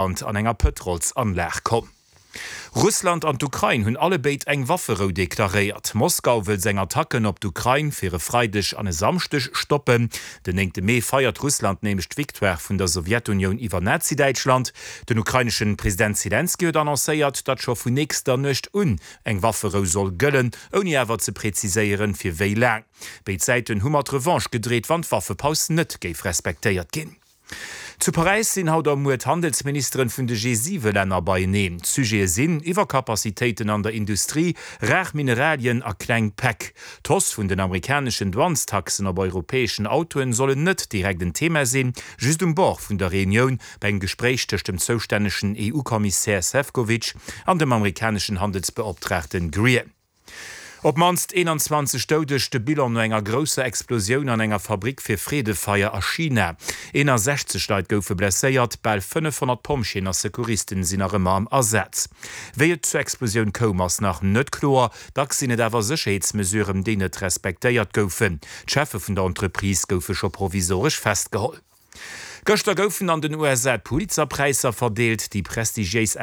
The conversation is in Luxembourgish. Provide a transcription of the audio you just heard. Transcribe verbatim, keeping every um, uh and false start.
an enger Pëtrolsanlag komm. Russland an d'Ukrain hunn allebéid eng Wafferou deklaréiert. Moskau wëll seng Attacken op d'Ukrain fir e Freideg an e Samschdeg stoppen. Den néngte Mee feiert Russland nämlech d'Victoire vun der Sowjetunioun iwwer Nazidäitschland. Den ukrainesche President Selenskyj huet annoncéiert, datt scho vun nächster Nuecht un eng Wafferou soll gëllen, ouni awer ze präziséieren, fir wéi laang. Béid Säiten hu mat Revanche gedreet, wann d'Waffepaus net géif respektéiert ginn. Zu Paräis sinn haut a muer d'Handelsministeren vun de G siwe Länner beieneen. D'Sujete sinn Iwwerkapazitéiten an der Industrie, rar Mineralien a kleng Päck. D'Hausse vun den amerikaneschen Douanestaxen op europäeschen Autoen sollen net direkt en Thema sinn, just um Bord vun der Reunioun bei engem Gespréich tëscht dem zoustännegen E U-Kommissär Sefcovic an dem amerikaneschen Handelsbeoptraagten Greer. Op d'mannst eenanzwanzeg Doudeg, de Bilan no enger grousser Explosioun an enger Fabrick fir Freedefeier a China. eenasechzeg Leit goufe blesséiert, bal fënnefhonnert Pompjeeën a Secouristen sinn nach ëmmer am Asaz. Wéi et zur Explosioun koum, ass nach net kloer, dacks sinn et awer Sécherheetsmesuren, déi net respektéiert goufen. D'Cheffe vun der Entreprise goufe scho provisoresch festgeholl. Gëschter goufen an den U S A d'Pulitzer-Präisser verdeelt, déi prestigiéis